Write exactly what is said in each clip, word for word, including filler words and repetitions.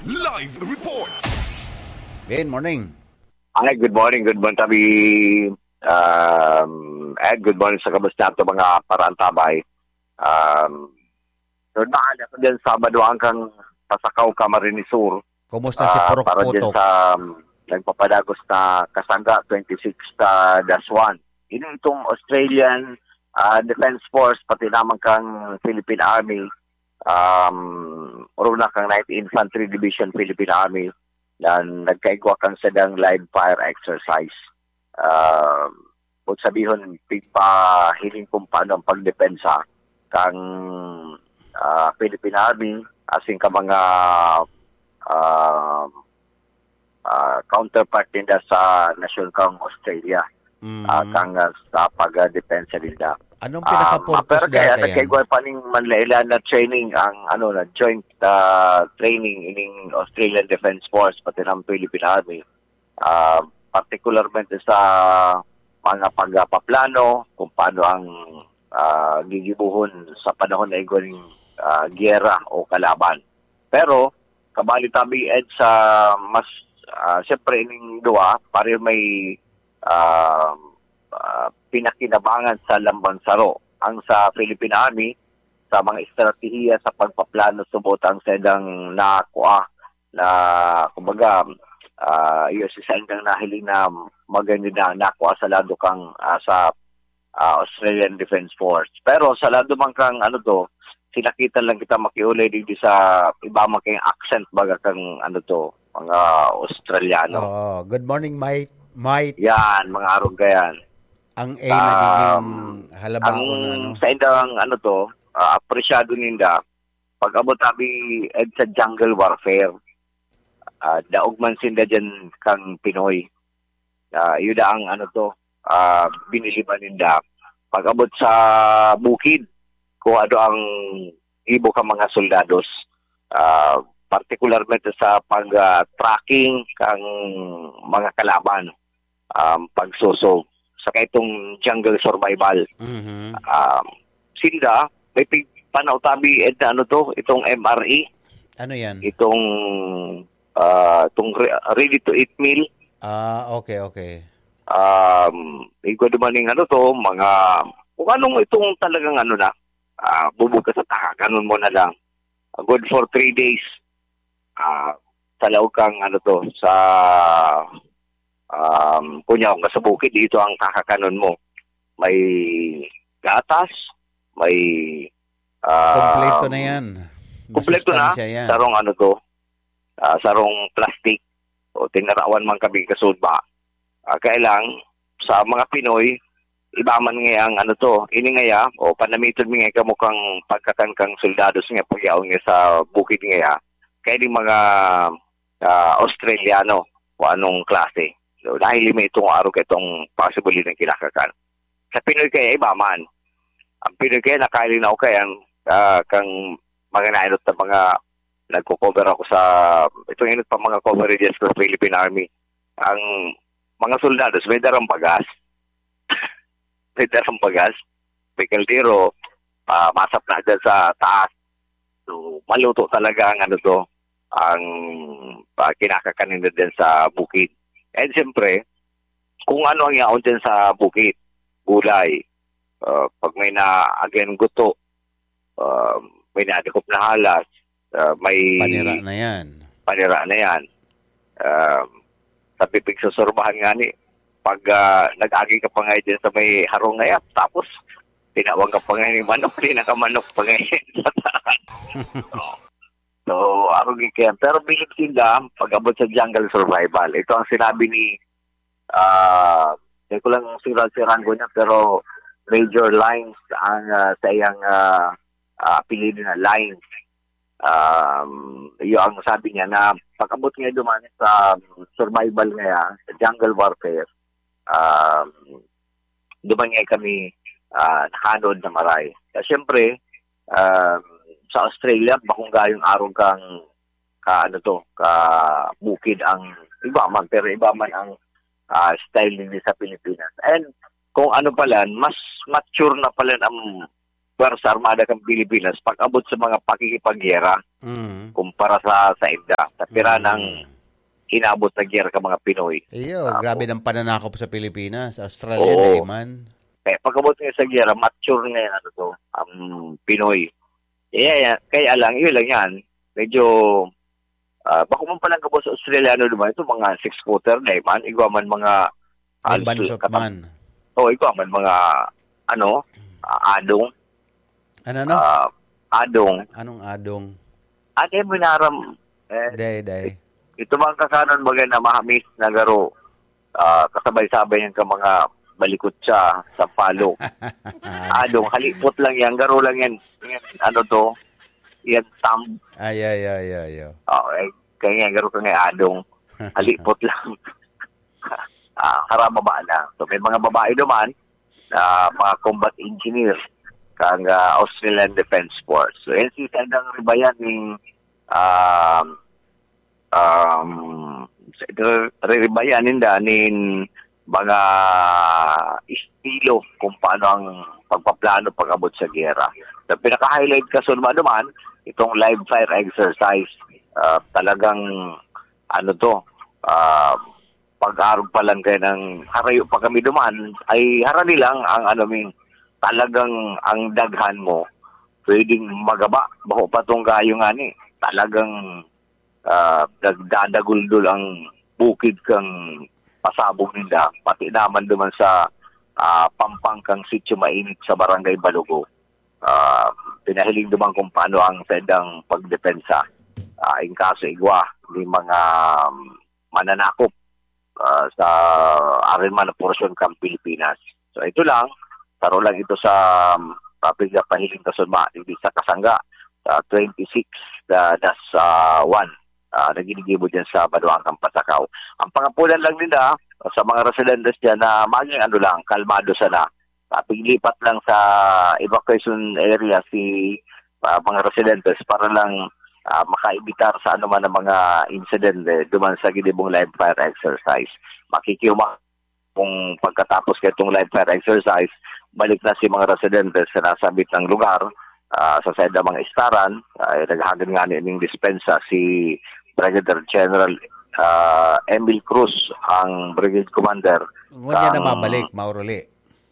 Live report. Good morning. Hi, good morning. Good morning, Tabi. Um, and good morning sa kamusta nato mga paraantabay. Um, so, daan ako dyan sa Maduang kang Pasakaw, Camarines Sur. Kumusta si Ah, Purok para dyan Putok? sa um, nagpapadagos na Kasangga twenty-six sa Daswan. Ini itong Australian ah, Defense Force, pati naman kang Philippine Army, um, runa kang Ninth Infantry Division Philippine Army, na nagkaigwa kang sadang live fire exercise. Um, kung sabihon, pigpahiling kung paano ang pagdepensa kang ah, Philippine Army, asin ka mga ah, ah, counterpart ninda sa nasyon kang Australia, Mm. ah, kang ah, sa pagdepensa ninda. Anong Um, pinaka-purpose pero kaya dati yan? nagkaigwa pa ning manlaila na training ang ano na joint ah, training ining Australian Defense Force pati ng Philippine Army. Ah, particularmente sa mga pagpaplano kung paano ang ah, gigibuhon sa panahon na igwa ning ah, giyera o kalaban. Pero kabali tabi Ed sa mas ah, siyempre ining duwa pareho may ah, ah, pinakinabangan sa lambang saro. Ang sa Philippine Army, sa mga estratehiya sa pagpaplano subot ang saindang nakua na, kumbaga, ah, iyo si saindang nahiling na maganda na nakua sa lado kang ah, sa ah, Australian Defense Force. Pero sa lado man kang ano to, sinakitan lang kita makiulay digdi sa iba man kang accent baga kang ano to, mga Australiano. Oo. Good morning, Mike. Mike. Yan, mga arog ka yan. Ang A Um, nagiging Ang halabaon na ano. sa indang ano to, ah, apresyado ninda, pag-abot tabi Ed sa jungle warfare, ah, daog man sinda dyan kang Pinoy. Ah, yun ang ano to, ah, biniliban ninda. Pag-abot sa bukid, kung ano ang gibo ka mga soldados, ah, partikularmente sa pag-tracking kang mga kalaban, um, pagsusog, saka itong jungle survival. Mhm. Um, sinda, may pig-, panaw tabi, Ed, na ano to, itong M R E, Ano yan? itong ah, itong re- ready to eat meal. Ah, okay, okay. Um, igwa dumaning ano to, mga kung anong itong talagang ano na, ah, bubog ka sa taka, ganun mo na lang. Good for three days. Ah, sa laog kang ano to, sa um, kunya kung sa bukid, dito ang kakakanon mo. May gatas, may um, Kompleto na yan. Kompleto na, Masustansya yan. Sarong ano to, ah, sarong plastic o tinarawan man kami kasudba. Ah, kaya lang, sa mga Pinoy, iba man nga ang ano to, ini ngaya, o panamiton mi nga kamo kang pagkatan kang soldados nga pagyaon nga sa bukid ngaya, kaya di mga ah, Australiano o anong klase. So, dahil may itong araw ka itong possibly ng kinakakan. Sa Pinoy kaya iba man. Ang Pinoy kaya nakailinaw kaya ang ah, kang mga nainot na mga nagko-cover ako sa itong inot pa mga coverages sa Philippine Army. Ang mga soldados may darang bagas. May darang bagas. May kaldero, ah, masap na dyan sa taas. So, maluto talaga ang ano to, ang ah, kinakakanin na din sa bukid. And siyempre, kung ano ang yaon dyan sa bukid, gulay, ah, pag may na, again, guto, ah, may nadakop na halas, ah, may Panira na yan. Panira na yan. Um, sabi pigsusurbahan nga ni, pag ah, nag-agi ka pa nga dyan sa may harong ngayon, tapos tinawag ka pa nga ni manok, di na ka manok pa ngayon. So, arog kaya. Pero bilib sila, pag-abot sa jungle survival. Ito ang sinabi ni, ah, hindi ko lang surat si Rango niya, pero Major Lines ang ah, sa iyang ah, ah, apelido na Lines. Um, iyo ang sabi niya na pag-abot nga duman sa survival nga sa jungle warfare, um, duman nga kami ah, nahanod na maray. Kaya siyempre, um, sa Australia, bakong gayong arog kang ka ano to, ka bukid ang iba man, pero iba man ang ah, style din sa Pilipinas. And kung ano pala, mas mature na pala ang Puwersa Armada ng Pilipinas pag-abot sa mga pakikipagyera. Mm. Kumpara sa, sa inda. Sa pira Mm. ng inabot na giyera ka mga Pinoy. Iyo, Apo. grabe ng pananakop sa Pilipinas. Australia, Oo. dai man. Kaya pag-abot nga sa giyera, mature na yan, ano to, ang Pinoy. Kaya, kaya lang, yun lang yan. Medyo, ah, bako man palang gabos sa Australiano naman, ito mga six-footer na man, igwa man mga May halos bansot kata-, man. oh, igwa man mga, ano, ah, adong. Ano, ano? Ah, adong. Anong adong? Ano yung minaram? Eh, Day, day. ito mga kakanon, baga na mahamis na garo. Ah, kasabay-sabay yan ka mga balikot siya sa palo. Adong, halipot lang yan, garo lang yan. Yan, ano to? Yan, tam. Ay, ay, ay, ay, ay. Oh, eh, kaya nga, garo ka nga adong. Halipot lang. Ah, harababa lang. So, may mga babae naman, ah, mga combat engineer, kang, ah, Australian Defense Force. So, yan si Sendang Ribayan ning, um, um, re-, re-, Ribayan ninda nin mga estilo kung paano ang pagpaplano pag-abot sa giyera. Sa pinaka-highlight kasunod naman, itong live fire exercise. Ah, talagang, ano to, ah, pag-arog pa lang kaya ng harayo pa kami duman, ay harani lang ang, ano, ming talagang ang daghan mo, pwedeng magaba, bako pa tong gayo nga ni, talagang, ah, nagdadaguldol ang bukid kang pasabog ninda, pati naman duman sa, ah, pampang kang Sitio Mainit sa Barangay Balugo. Ah, pinahiling duman kung paano ang saindang pagdepensa, ah, in kaso igwa ni mga, um, mananakop, ah, sa arin man na porsyon kan Pilipinas. So, ito lang, taro lang ito sa, um, topic na pahiling kasunod, hindi sa kasangga, sa twenty-six, ah, dash, ah, one, ah, na ginigibo dyan sa Banuang Kampasakaw. Ang pangapulan lang nila, sa mga residentes dyan na maging ano lang, kalmado sana. Ah, paglipat lang sa evacuation area si, ah, mga residentes para lang, ah, makaibitar sa anuman ang mga insidente duman sa ginibong live fire exercise. Makikihuma-, kung pagkatapos kaitong live fire exercise, balik na si mga residentes sa nasabit ng lugar, ah, sa said na mga istaran, ay naghahagad nga ning dispensa si Brigadier General, ah, Emil Cruz, ang Brigade Commander Ngunyan na kang babalik, mauruli.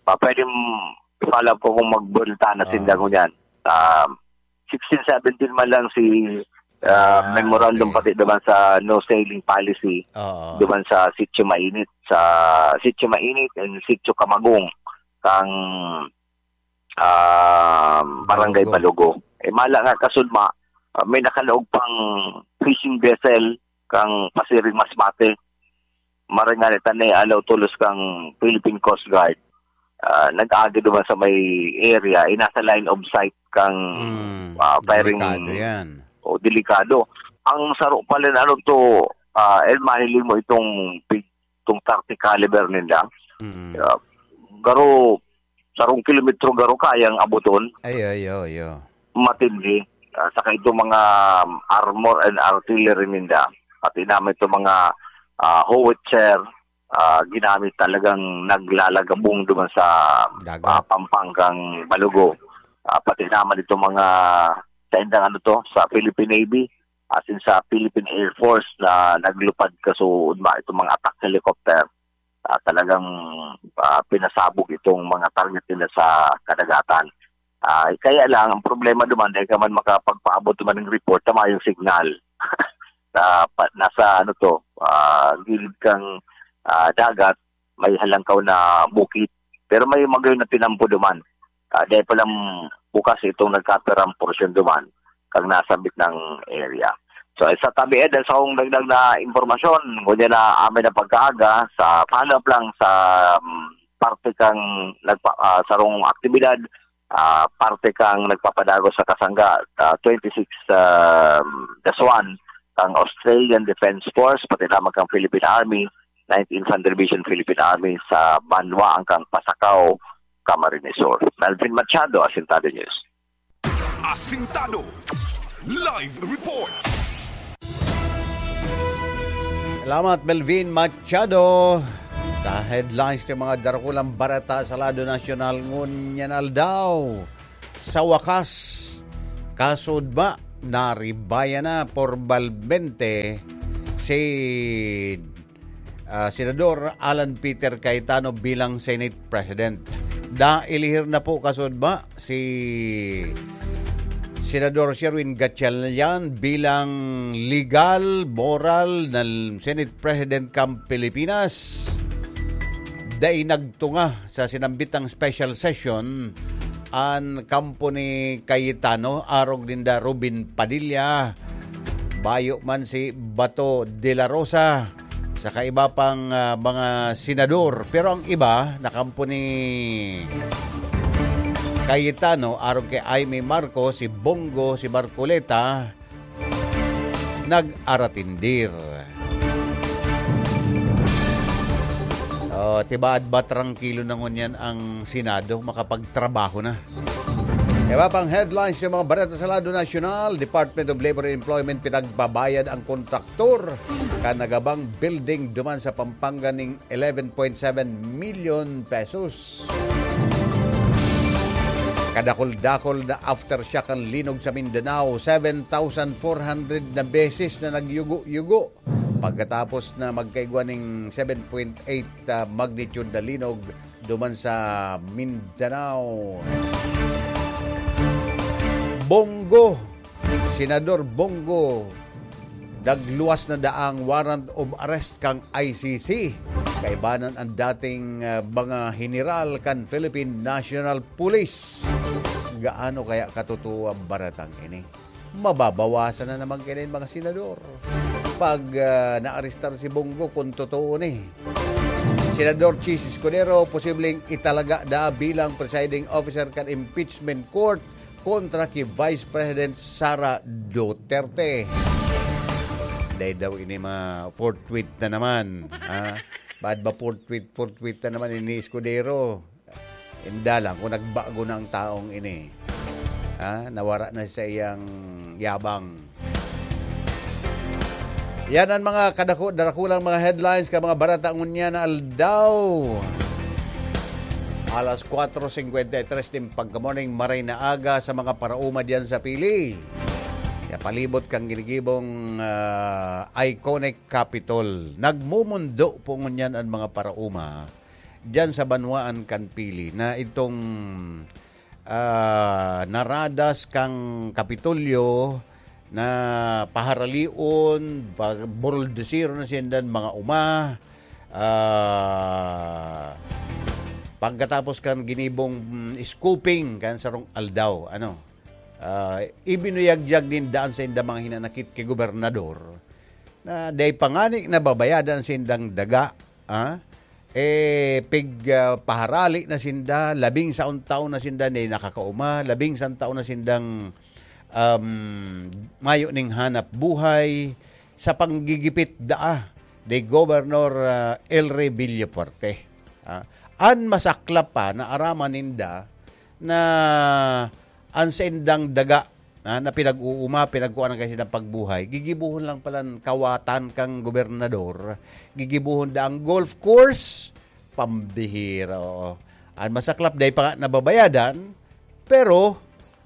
Pa, pwede m-, follow up ko kung magbulta na Ah. sinda ngunyan. Ah, sixteen seventeen man lang si, ah, Ah, memorandum okay. pati naman sa no sailing policy, Oo. duman sa Sitio Mainit, sa Sitio Mainit and Sitio Kamagong, kang, ah, Barangay Balugo. Balugo. Eh, mala nga kasudma, ah, may nakalaog pang fishing vessel kang pasiring Masbate. Maray nga ni tanay alaw tolos kang Philippine Coast Guard. Ah, nag-aagi duman sa may area, eh, nasa line of sight kang, Mm, ah, firing delikado yan. O, delikado. Ang saro pala na ano to, ah, El, mahiling mo itong big, itong thirty caliber ninda. Mm. Ah, garo, sarong kilometro garo kayang abuton. Ay, ay, ay, ay. Matindi. Ah, saka itong mga, um, armor and artillery ninda. Pati naman itong mga, ah, howitzer, ah, ginamit talagang naglalagabong duman sa, Dagat. ah, Pampang kang Balugo. Ah, pati naman itong mga, sa indang ano to, sa Philippine Navy, as in sa Philippine Air Force na naglupad kasuod ba itong mga attack helicopter. Ah, talagang, ah, pinasabog itong mga target nila sa kadagatan. Ah, kaya lang, ang problema duman, dahil ka man makapagpaabot duman ng report, tama yung signal. Sa, pa, nasa, ano to, ah, gilid kang, ah, dagat, may halangkaw na bukid. Pero may magayon na tinampo duman. Ah, dahil palang bukas itong nagkapirang porsyon duman, kang nasabit ng area. So, sa tabi, eh, dahil sa akong dagdag na impormasyon, ngunyan na amin na pagkaaga, sa follow-up lang sa, um, parte kang nagpa-, ah, sarong aktibidad, ah, parte kang nagpapadagos sa kasangga, ah, twenty-six, um, dash one, kang Australian Defense Force, pati naman kang Philippine Army, Ninth Infantry Division Philippine Army sa banwa ang kang Pasacao, Camarines Sur. Melvin Machado, Asintado News. Asintado Live Report. Salamat, Melvin Machado. Sa headlines ng mga darukulang bareta sa lado nasyonal ngunyan aldaw. Sa wakas, kasudma, naribayan na pormalmente si, ah, Senador Alan Peter Cayetano bilang Senate President. Nailihir na po, kasudma, si Senador Sherwin Gatchalian bilang legal, moral na Senate President kan Pilipinas. Dai nagtunga sa sinambitang special session an kampo ni Cayetano, arog ninda Robin Padilla, bayo man si Bato de la Rosa, saka iba pang, ah, mga senador. Pero ang iba na kampo ni Cayetano, arog kay Imee Marcos, si Bong Go, si Marcoleta, nag-aratindir. Oh, tibaad ba trangkilo na ngunyan ang Senado, makapagtrabaho na? Iba pang headlines sa mga bareta sa lado nasyonal: Department of Labor and Employment pinagbabayad ang kontraktor kan nagabang building duman sa Pampanga ning eleven point seven million pesos. Kadakul-dakul na aftershock ang linog sa Mindanao, seven thousand four hundred na beses na nagyugo-yugo pagkatapos na magkaigwa ning seven point eight, ah, magnitude na linog duman sa Mindanao. Bong Go, Senador Bong Go, nagluwas na daang warrant of arrest kan I C C. Kaibanan ang dating, ah, mga heneral kan Philippine National Police. Gaano kaya katotoo ang baretang ini? Mababawasan na naman kini mga senador pag, ah, naarestar si Bong Go, kung totoo ni. Senador Chiz Escudero posibleng italaga na bilang presiding officer kan impeachment court kontra ki Vice President Sara Duterte. Dai daw ini ma-forthwit na naman, ha? Baad ba forthwit, forthwit na naman ini Escudero? Inda lang kung nagbago na ang taong ini. Ha? Nawara na sa iyang yabang. Yan ang mga kadako-, darakulang mga headlines kan mga bareta ngunyan na aldaw. Alas kwatro singkwenta y tres nin pagka-morning, maray na aga sa mga paraoma diyan sa Pili. Sa palibot kan ginigibong, ah, iconic Capitol. Nagmumundo po ngunyan ang mga paraoma diyan sa banwaan kan Pili na itong, ah, naradas kan Kapitolyo na paharalion, pa-, buruldusir na sinda mga uma, ah, pagkatapos kan ginibong, mm, scooping kan sarong aldaw, ano, ah, ibinuyagyag ninda an sainda mga hinanakit ki gobernador na dai pa ngani nababayadan sindang daga, ah, eh, pig, ah, paharali na sinda, labing saon taon na sinda dai nakakauma, labing saon taon na sindang, um, mayo ning hanap buhay sa panggigipit daa ni Governor, ah, Elry Villafuerte. Ah, an masaklap pa, naaraman ninda na an saindang daga, ah, na pinag-uuma, pinagkuanan kan saindang pagbuhay, gigibohon lang palan kawatan kan gobernador, gigibohon daang golf course, pambihira, oo. An masaklap, dai pa nga nababayadan, pero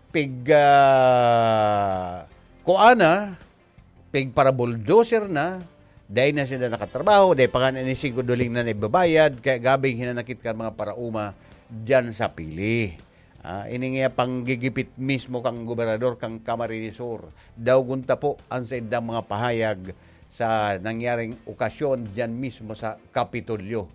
pig, ah, kuana, pigpara-bulldozer na, dai na sinda nakatrabaho, dai pa nga ini singko duling na naibabayad, kaya gabing hinanakit kan mga paraoma diyan sa Pili. Ah, ini nga panggigipit mismo kan gobernador kan Camarines Sur. Daogon ta po an saindang mga pahayag sa nangyaring okasyon diyan mismo sa Kapitolyo.